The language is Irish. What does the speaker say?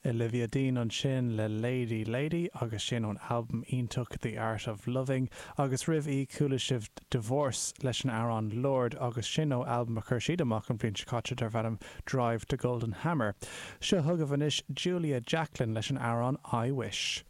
Olivia Dean ansin le Lady Lady agus sin ón albam iontach The Art of Loving agus roimh í chuala sibh Divorce leis an amhrán Lord agus sin ó albam a chuir siad amach an bhliain seo caite darb ainm Drive to Golden Hammer. Seo chugaibh anois Julia Jacklin leis an amhrán I Wish.